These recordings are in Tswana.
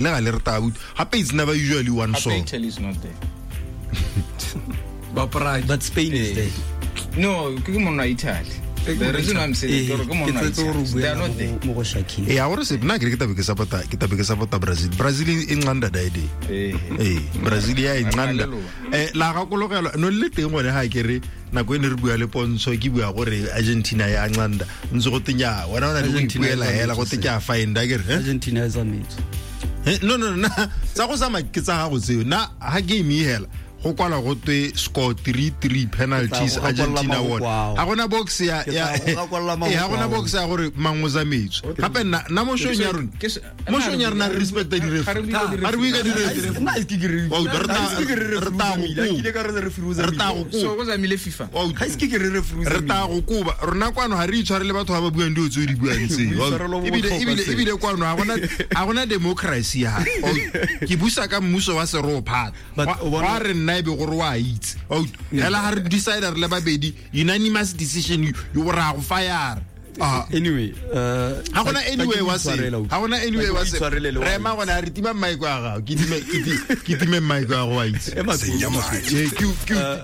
Le gale re tla utlwa. Gape it's never usually one Gape song. Italy is not there. Ba Prague. But Spain is there. No, ke monna wa Italy. Ke The monna reason why I'm saying Eh, ke gore ke ke monna wa tsetse gore o Italy. They are buela not there. mo go Shakira. Ee, a gore se nna ke re ke tabe ke support-a ke tabe ke support-a Brazil. Brazil e nqanda dae day. Eh. Ee, Brazil ya e nqanda. Hallelujah. La gakologelwa no le teng gone ga ke re nako e ne re bua le Pontsho ke bua gore Argentina ya nqanda. Ntse go tenya wena o na le go Argentina e ipuela hela go te ke a find a ke re. eh? Argentina e tsamaetse. No no no na tsa go tsamaya ke tsa gago tseo. Na ha game e hela go kwala go twe score 3-3 penalties Ke tla go Argentina gakolla won. mahoko ao. Ha gona box ya Ke ya tla go gakolla Eh, ha gona mahoko ao. box ya gore mang o tsamaetswe. Gape nna nna mo showng ya rona. Ke se- Mo showng ya rona re respecta di ref. Ga re bue ka di Ga re bue ka di ref. Nna ke re Wa utlwa, re tla- ga ise ke re re referee tla go o tsamaile. koba. Ke ile ka re referee o Re tla tsamaile. go koba. So go tsamaile FIFA. Wa utlwa. Ga ise ke re referee o Re tla tsamaile. go koba rona kwano ga re itshware le batho ba ba buang dilo tse o di buang tseo. Boitshwaro bo Ebile botlhokwa ebile seo. ebile kwano ga gona ga gona democracy ha. Ke busa ka mmuso wa serophata. But o bona- Wa re nna e be gore wa itse. Wa utlwa. Hela ga re decide re le babedi unanimous decision you ra go fire. Ah. Anyway, Ga gona anyway wa se. tla ke Ga gona anyway wa se. itshwarele le wa Re ema gona re tima mic wa gago. Ke time ke ke time mic wa gago wa itse. Ema pele, ema pele. Eh,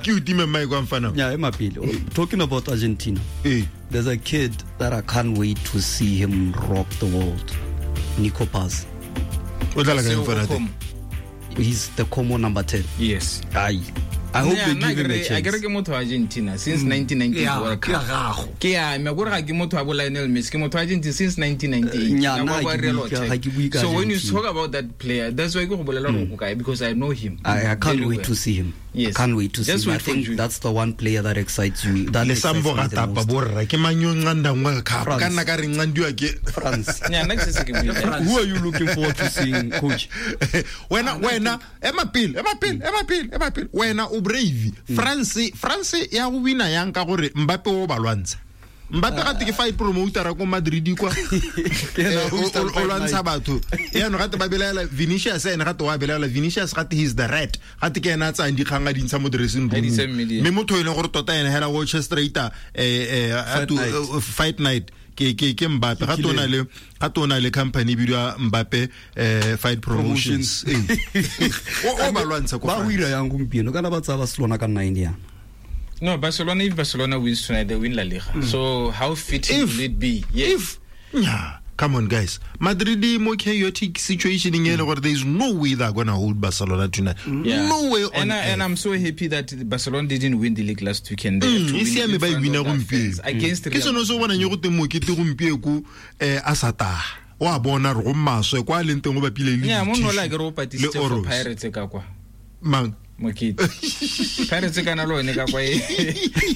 ke o time mic wa mfana. Yeah, ema pele. Talking about Argentina. Eh. There's a kid that I can't wait to see him rock the world. Nico Paz. O dlala ka Seo mfana o teng. Como. He's the Como number 10. Yes. Aye. I hope Yeah, they nna give him a ke re- a ke re chance. ke motho wa Argentina since 1998 Yeah, World ke ya Cup. gago. Ke ya me gore ga ke motho wa bo Lionel Messi, ke motho wa Argentina since 1998. Nya, Nako nna ya ha ke Real bue ka- Attack. ha ke bue ka So when you Argentina. talk about that player, that's why ke go bolela gore o kae because I know him. I can't very wait well. to see him. Yes. I can't wait to Just see him. I wait for think June. that's the one player that excites you. That Le excites sambo me ga the tapa most. borra ke mang yo nqandang World Cup France. ka nna ka re nqandiwa ke France. Nya, nna ke setse ke buile. Who are you looking forward to seeing, coach? Wena wena ema pele ema pele ema pele ema pele wena o brave. France ya go wina yang ka gore Mbappe o ba lwantsha. Mbappe gate ke fight promoter ko Madrid kwa. Yena Eh, o lwantsha batho. Yaanong gate ba belaela Vinicius ene gate wa belaela Vinicius gate he's the rat. Gate ke ena a tsayang dikgang a di ntsha mo dressing room. A di isa media. Mme motho e leng gore tota ene hela o orchestrator Fight night. fight night ke Mbappe ga tona le ga tona le company e bidiwa Mbappe fight promotions. Ee. O ba lwantsha ko Ba go France. ira yang gompieno kana ba tsaya Barcelona ka 9 yang. No, Barcelona, if Barcelona wins tonight, they win La Liga. So how fitting If- will it be? Yes. If yeah, come on guys. Madrid e mo chaotic situation e le gore there is no way they're going to hold Barcelona tonight. Yeah. No way on And, and earth. I'm so happy that Barcelona didn't win the league last weekend. They had to E win siame in ba e front wina of their fans gompieno. Against Ke Real sone se o bonang yo go teng mokete gompieko a sa taga. O a bona re go maswe kwa a leng teng o bapile le Yeah, mo di-tissue no la ke re o le patisitse for Oros. Pirates ka kwa. Mang? Mokete. Pirates kana le one ka kwa e.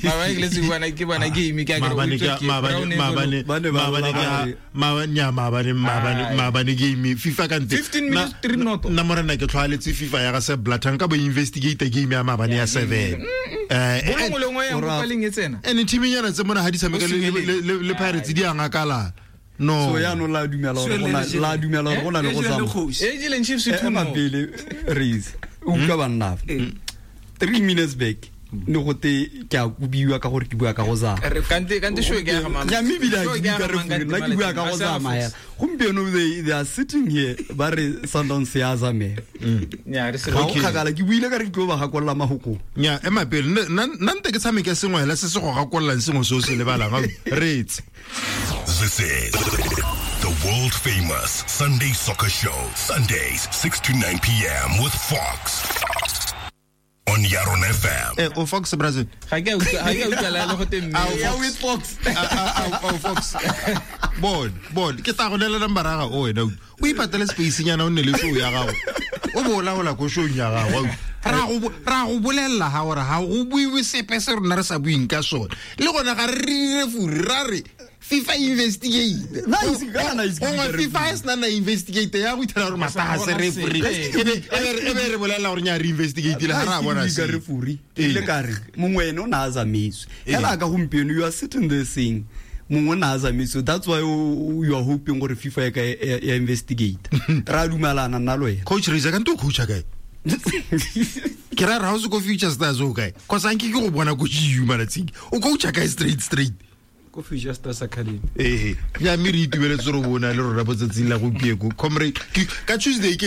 Maabane ke letse ke bona ke bona game ke a ke re o Maabane utswa ke ke maabane brown maabane envelope. Ba ne ba maabane ke rora maabane nya maabane maabane Ai. maabane game FIFA ka nte 15 minutes, 3 noto. nna morena ke tlhoaletse FIFA ya ga se Blatter nka bo investigate game ya maabane ya 7 Bolo nngwe le nngwe ya Ora- mo paleng e tsena. ene team-nyana tse mona ha di tshameka O senyeleng. le Pirates di a ngakala no So yaanong la dumela gore go na- la dumela gore go na le go E jele tsamaya. kgosi. E jeleng Chiefs Eh, 2 ema no. pele raise o utlwa banna fa. 3 minutes back ne gote ke a kobiwa ka gore ke bua ka go zama Kante show ke ya ga mang? ya mme ebile ha Show ke ke ya bue ka ga mang referee, kante nna ke bua ka go malatsi? A se a zama hela gompieno they are sitting here ba re Sundowns ya zamela Nya, re se ga go Okay. kgakala ke buile ka re ke tlo ba gakolola mahokong nya ema pele nna nte ke tshameke sengwe hela se se go gakollang sengwe se o se lebalang au, reetse This is the world famous Sunday Soccer Show. Sundays, 6 to 9 p.m. with Fox. On Yaron FM. Eh, o Fox Brazil Ga ke a utlwa ga ke a utlwa la le go te mme. Ao, with Fox o Fox bon bon ke tla go neela number ya gago wena o ipatele space nyana o nne le show ya gago o bo o laola ko showng ya gago ra go bolelela ga gore ga go buiwe sepe se rona re sa buing ka sone le gona ga re re referee ra re FIFA investigate Nna ha ise- kana ha ise ke gongwe bue ka FIFA e sena na investigate ya go ithela gore mata ga se referee e be re bolelela gore nya re investigatile ga re a bona ka se referee ile ka re mongwe ene o ne a tsamaiswe hela ka gompieno you are sitting there saying mongwe o ne a tsamaiswe that's why you are hoping gore FIFA e ka ya investigate ra dumelana nna le wena coach Reza kante o coacha kae ke ra re ga o se ko Future Stars o kae cause anke ke go bona ko GU malatsing o coacha kae straight straight Ko Future Stars Academy. Ee, ya mme re itumeletse re bona le rona botsatsing la gompieko, comrade. Ka Tuesday ke.